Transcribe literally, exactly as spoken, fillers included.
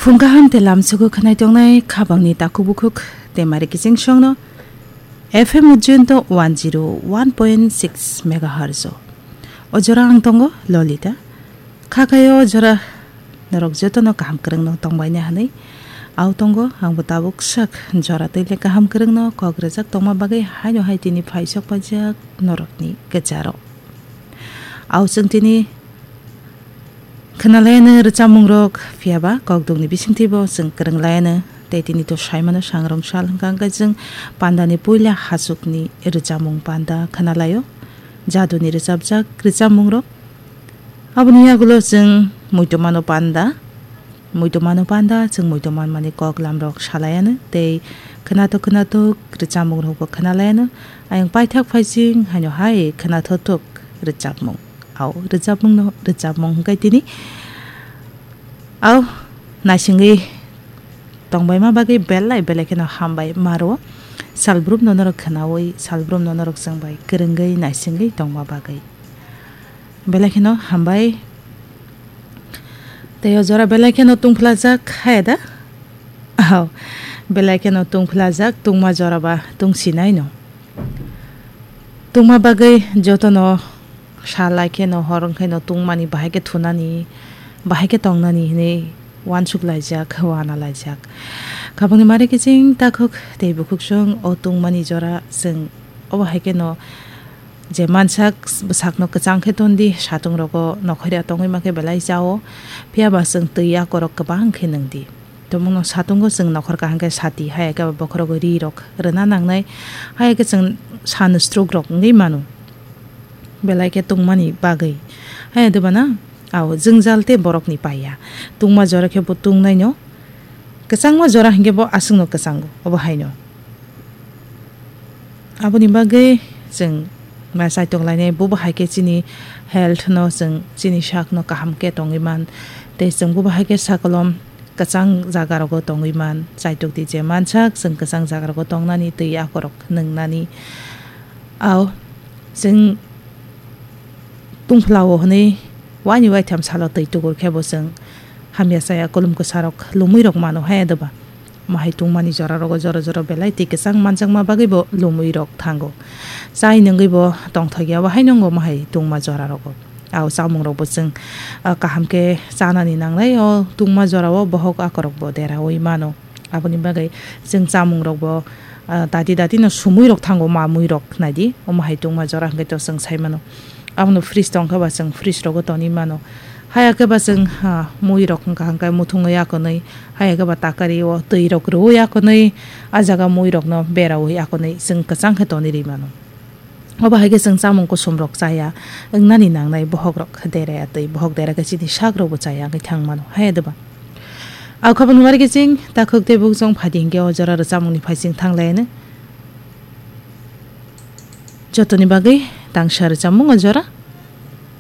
Phung kaham tei lamsogo khwnai tongnai khabangni takhuk bukhuk tei mari kiching songno F M Ujjainto one zero one point six megahertz o. O jora ang tongo Lolita. Kha khaio o jora norok jotono kaham kwrwngno tongbaina hwnwi. Au tongo, angbo tabuk sak jora tei le kaham kwrwngno kok rwjak tongma bagwi haino hai tini phaisok paijak norokni kwcharo. Au chwng tini khwnalaiyano rwchapmungrok, phiya ba kokdukni bisingtwibo chwng kwrwnglaiyano. Tei tini to saimano sangrong sal hwnkha, hwnkhe chwng pandani puila hachukni rwchapmung panda khwnalaio, jaduni rwchapjak rwchapmungrok. Aboni yagulo chwng muitomano panda, muitomano panda, chwng muitom manmani kok lamrok salaiano tei khwnathok khwnathok rwchapmungrokbo khwnalaiano. Ayang paithak phaising haino hai khwnathok thok rwchapmung. Au rwchapmungno rwchapmung hwnkhe tini. Au naisingwi tongbaima bagwi belai belai kheno hambai maro. Salbrumno norok khwnawi, salbrumno norok chwngbai kwrwngwi naisingwi tongma bagwi. Belai kheno hambai. Tei o jora belai kheno tungphlajak, haya da? Aw, belai kheno tungphlajak, tungma jora ba tungsinaino. Tungma bagwi jotono salai kheno, hor wngkhaino tungmani, bahai khe thunani, bahai khe tongnani hwnwi uansuk laijak, wana laijak. Khabangni mari kiching takhuk tei bukhuk song o tungmani jora chwng obo hai kheno je mansak bwsakno kwchang khe ton di, satung rogo nokhorya tongwi ma khe belai chao, phiya ba chwng twi akorok kwbang khe nwng di. Tongmungno satungo chwng nokhor kaham khe sati, haya khe ba bokhorogo ri rok rwna nangnai, haya khe chwng sun stroke rok wngwi mano belai khe tungmani bagwi. Haya dubana, ao jwngjal tei borokni paiya. Tungma jora khe bo tungnaino, kwchangma jora hinkhe bo aswkno kwchango, obo haino. Aboni bagwi chwng ma chaitok lainai, bobo hai khe chini health no, chwng chini sak no kaham khe tongwi man. Tei chwng bobo hai khe sakolom kwchang jaga rogo tongwi man, chaitok di je mansak chwng kwchang jaga rogo tongnani twi akorok nwngnani. Ao chwng tungphlao hwnwi waini waitham salo twi tukur khe bo chwng hamya chaya, kulum kwsarok lumwi rok mano hai doba. Omo hai tungmani jora rogo jora jora belai twi kwchang manjakma bagwi bo lumwi rok thango. Chai nungwi bo tongthok ya, bo hai nungo omo hai tungma jora rogo. Ao chamung rok bo chwng, ah, kaham khe chanani nangnai, o tungma jora o bohok akorok bo deraui mano. Aboni bagwi chwng chamung rok bo, ah, dati dati no sumui rok thango, mamui rok nai di, omo hai tungma jora hwnkhe to chwng sai mano. Abono fridge tong khe ba chwng fridge rogo tonwi mano. Haya khe ba chwng, ha, mui rok hwnkha hwnkhe muthungwi akonwi, haya khe ba takari o twi rok rwui akonwi, a jaga mui rokno beraui akonwi chwng kwchang khe tonwi rwi mano. Obo hai khe chwng chamung kusum rok chaya wngnani nangnai, bohok rok dera ya twi, bohok dera khe chini sak rok bo chaya wngwi thang mano, haya doba. Au khabangni mari khe chwng takhuk tei bukchung phai di hinkhe o jora rwchapmung ni phaising thang lai ano. Jotoni bagwi tangsa rwchapmung o jora.